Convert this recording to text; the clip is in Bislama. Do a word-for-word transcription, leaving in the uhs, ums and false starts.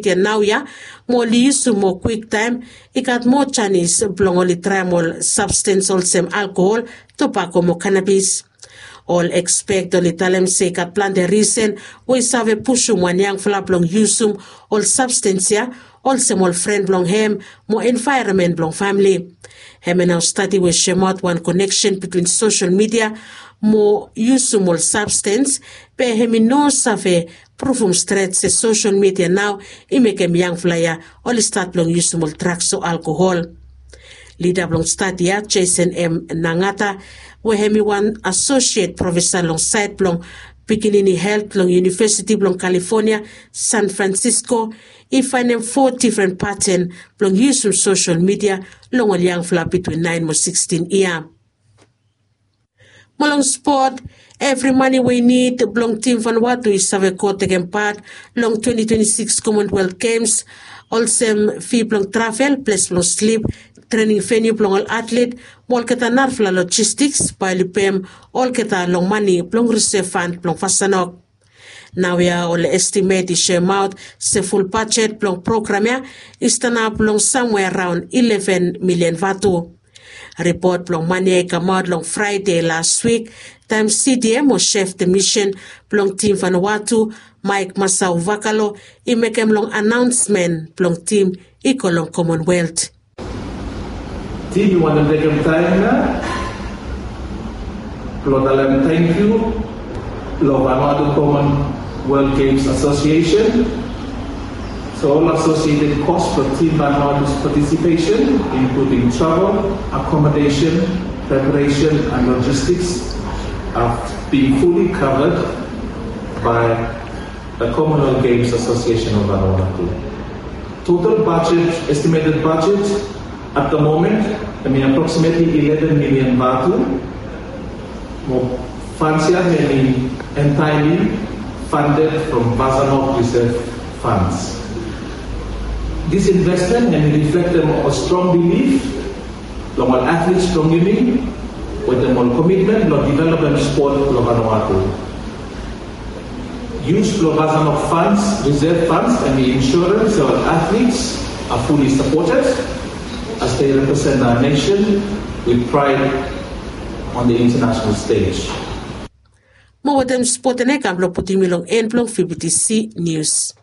yia naoia, mo oli yusum moa kwiktaem, i gat moa janis blong oli traem ol sabstens olsem alkohol, tobako mo kanabis. Ol ekspet oli talem se i gat plante risen we i save pusum wan yangfala blong yusum ol sabstens ya, olsem ol fren blong hem mo envaeronmen blong famle. Hemia nao stadi we i soemaot wan koneksen bitwin sosel midia mo yusum ol sabstens, be hem i no save pruvum stret se sosel midia nao i mekem yangfala ya oli stat blong yusum ol draks o alkohol. Lida blong stadi ya, Jason M Nangata, we hem i wan asosiet profesa long saed blong pikinini helt long Univesiti blong Kalifonia, San Fransisko, i faenem fo difren paten blong yusum sosel midia long ol yangfala bitwin naen mo sikstin yia. Mo long spot, evri mane we i nid blong tim Vanuatu i save go tekem pat long twenti twenti sikis Commonwealth Games, olsem fi blong travel, ples blong slip, trening veniu blong ol atlet, mo olgeta narafala lojistiks bae oli pem olgeta long mane blong risev fan blong Vasanok. Naoia ol estimet i soemaot se ful bajet blong program ya i stanap long samwea raon ileven milian vatu. Ripot blong mane ya i kamaot long Fraede las wik, taem CDM o Chef de Mission blong tim Vanuatu, Maek Masau Vakalo, i mekem long anaonsmen blong tim i go long Commonwealth. Tim, mi wantem tekem taem ya blong talem tangkiu long Vanuatu Commonwealth Games Association. So all associated costs for Team Vanuatu's participation, including travel, accommodation, preparation, and logistics, are being fully covered by the Commonwealth Games Association of Vanuatu. Total budget, estimated budget at the moment, I mean, approximately ileven milian vatu. Mo fans ya hemi entirely funded from Vasanok reserve funds. This investment hemi reflektem ol strong bilif long ol atlets blong yumi, wetem ol komitmen blong developem spot blong Vanuatu. Yus blong Vasanok funds, reserve funds, and the insurance of athletes are fully supported as they represent our nation with pride on the international stage. Mo wetem spot ya i kam blong putum yumi long en blong VBTC News.